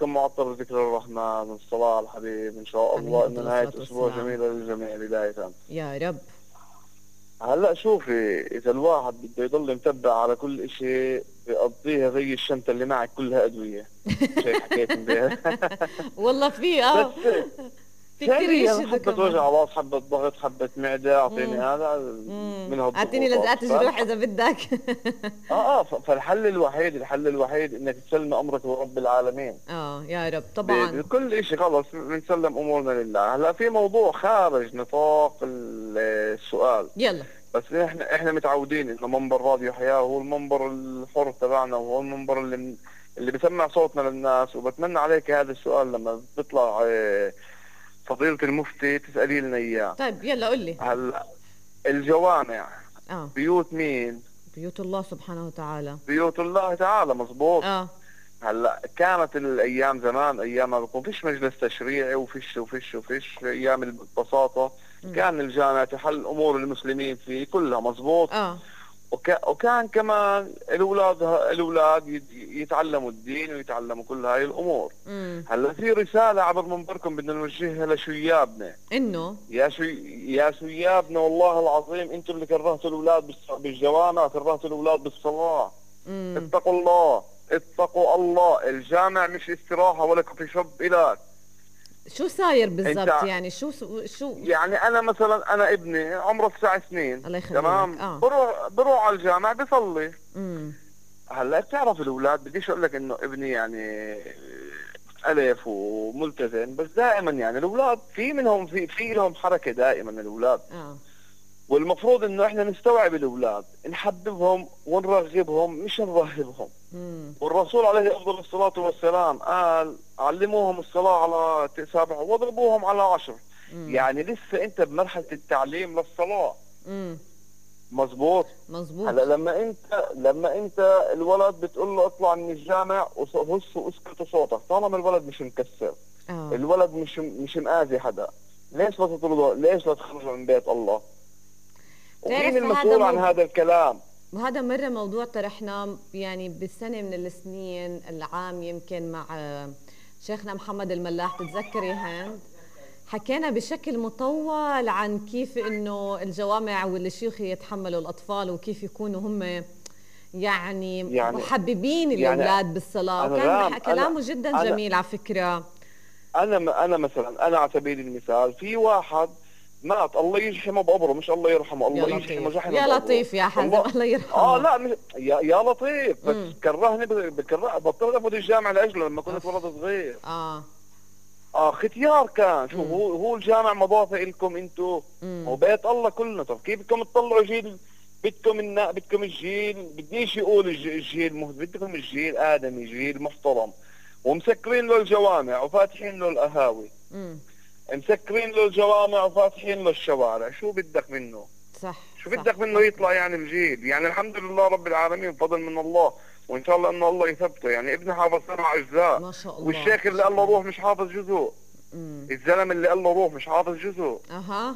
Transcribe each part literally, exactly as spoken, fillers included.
عليكم معطر ذكر الرحمن والصلاة على الحبيب إن شاء عليه الله، إنه أفضل نهاية الصلاة أسبوع والسلام. جميلة للجميع بداية. يا رب. هلا شوفي، إذا الواحد بده يضل متبع على كل إشي بيقضيها زي الشنطة اللي معك كلها أدوية. مش هيك حكيت امبارح؟ والله في بس اه في كتير ثاني أنا يشهدوا حبة وجع كمان. راس، حبة ضغط، حبة معدة، أعطيني امم هذا امم من اعطيني هالضغوطات. لزقات جروح فالح... اذا بدك. آه آه ف- فالحل الوحيد، الحل الوحيد إنك تسلم أمرك لرب العالمين اه يا رب ب- طبعا. بكل إشي. خلص بنسلم أمورنا لله. هلا في موضوع خارج نطاق ال- السؤال، يلا. بس احنا احنا متعودين انه منبر راديو حياة هو المنبر الحر تبعنا، وهو المنبر اللي من اللي بسمع صوتنا للناس. وبتمنى عليك هذا السؤال لما بيطلع اه، فضيلة المفتي تسألي لنا اياه. طيب يلا قل لي. هلا الجوامع اه بيوت مين؟ بيوت الله سبحانه وتعالى. بيوت الله تعالى، مزبوط. اه هلا كانت الايام زمان، ايام ما بيكون فيش مجلس تشريعي وفيش وفيش وفيش ايام البساطة، امم كان الجامع تحل امور المسلمين فيه كلها، مزبوط. اه وك... وكان كمان الاولاد الاولاد يت- يتعلموا الدين ويتعلموا كل هاي الامور. امم هلا في رساله عبر منبركم بدنا نوجهها لشيابنا. انه يا شي... يا شيابنا، والله العظيم انتم اللي كرهتوا الاولاد بالص... بالجوامع، كرهتوا الاولاد بالصلاه. امم اتقوا الله، اتقوا الله. الجامع مش استراحه ولا كوفي شوب إلك. شو صاير انت بالضبط يعني شو شو يعني انا مثلا، انا ابني عمره تسع سنين، الله يخلي لك. تمام، اه بروح بروح على الجامع بصلي. امم هلا بتعرف الاولاد، بديش اقول لك انه ابني يعني الف وملتزم، بس دائما يعني الاولاد في منهم في في لهم حركه دائما الاولاد. اه والمفروض انه احنا نستوعب الاولاد، نحببهم ونرغبهم مش نرهبهم. امم والرسول عليه افضل الصلاه والسلام قال علموهم الصلاه على سبع واضربوهم على عشر. امم يعني لسه انت بمرحله التعليم للصلاه، امم مزبوط. مزبوط. هلا لما انت لما انت الولد بتقول له اطلع من الجامع وهص واسكت صوتك، طالما الولد مش مكسر، اه الولد مش مش مآذي حدا، ليش لا تطردوا؟ ليش لا تخرجوا من بيت الله؟ ومين بتعرف هذا المسؤول عن موضوع، هذا الكلام؟ وهذا مرة موضوع طرحناه يعني بسنة من السنين العام يمكن مع آه، شيخنا محمد الملاح، تتذكري هند؟ حكينا بشكل مطول عن كيف انه الجوامع والشيوخ يتحملوا الاطفال وكيف يكونوا هم يعني يعني محببين يعني الاولاد بالصلاة، وكان انغام، بح- انا كلامه جدا انا جميل على فكرة. انا انا مثلا، انا على سبيل المثال في واحد مات، الله يرحمه بقبره، مش الله يرحمه، يا الله يرحمه لطيف جحمه يا بقبره. لطيف يا حازم، الله. الله اه يرحمه. لا مش... يا يا لطيف، بس امم كرهني ب- بكره بطلت افوت الجامعه لاجله لما كنت اوف. ولد صغير. اه اه ختيار كان. شو امم هو هو الجامع مضافه لكم انتم، هو امم بيت الله كلنا. طب كيف بدكم تطلعوا جيل؟ بدكم النا... بدكم الجيل، بديش يقول الج- الجيل مه... بدكم الجيل ادمي، جيل محترم، ومسكرين له الجوامع وفاتحين له القهاوي، امم مسكرين له الجوامع وفاتحين له الشوارع. شو بدك منه؟ صح شو صح بدك منه صح. يطلع يعني الجيل؟ يعني الحمد لله رب العالمين، فضل من الله، وان شاء الله انه الله يثبته. يعني ابني حافظ سبع اجزاء، ما شاء الله والشيخ ما اللي شاء قال له الله. روح مش حافظ جزء، امم الزلمه اللي قال له روح مش حافظ جزء. اها.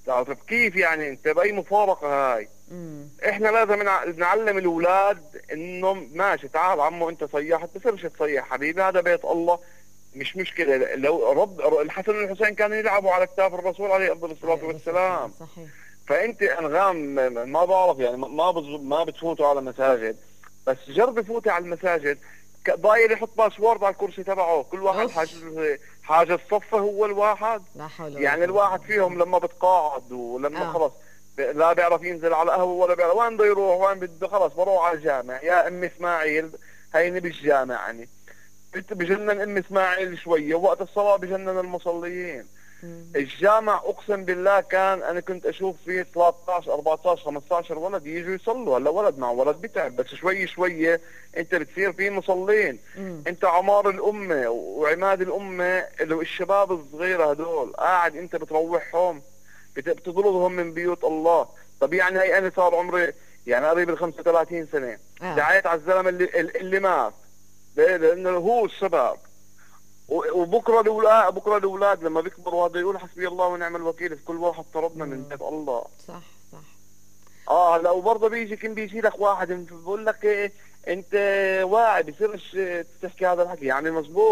طيب كيف يعني؟ انت باي مفارقه هاي؟ امم احنا لازم نع- نعلم الاولاد انه ماشي، تعال عمو انت صيحت، بصيرش تصيح حبيبي، هذا بيت الله، مش مشكله. لو رب الحسن والحسين كانوا يلعبوا على كتاف الرسول عليه افضل الصلاه عليه الصلاة والسلام. والسلام. صحيح. فانت انغام ما بعرف يعني، ما بتز- ما بتفوتوا على مساجد، بس جربي فوتي على المساجد. ك- ضايل يحط باسورد على الكرسي تبعه، كل واحد اوف. حاجز حاجز صفه هو الواحد. لا حول ولا يعني قوة الا الواحد بالله. فيهم لما بتقاعد ولما اه خلص ب- لا بيعرف ينزل على قهوه ولا بيعرف وين بده يروح، وين بده، خلص بروح على الجامع. يا ام اسماعيل هيني بالجامع يعني، بت- بجنن ام اسماعيل شويه، ووقت الصلاه بجنن المصليين. امم الجامع اقسم بالله كان انا كنت اشوف فيه ثلاثطعش أربعطعش خمسطعش ولد يجوا يصلوا. هلا ولد مع ولد بتعب، بس شوي شوي انت بتصير في مصلين. امم انت عمار الامه وعماد الامه، اللي هو الشباب الصغيره هدول، قاعد انت بتروحهم، بت- بتطردهم من بيوت الله. طب يعني هي انا صار عمري يعني قريب ال خمسة وثلاثين سنه، اه دعيت على الزلمه اللي اللي مات، ليه؟ لانه هو السبب. و- وبكره الاولاد، بكره الاولاد لما بيكبروا هذا يقول حسبي الله ونعم الوكيل في كل واحد طردنا من امم بيت الله. صح صح. اه هلا وبرضه بيجي كم بيجي لك واحد بيقول لك إيه انت واعي، بصيرش تحكي هذا الحكي يعني، مزبوط.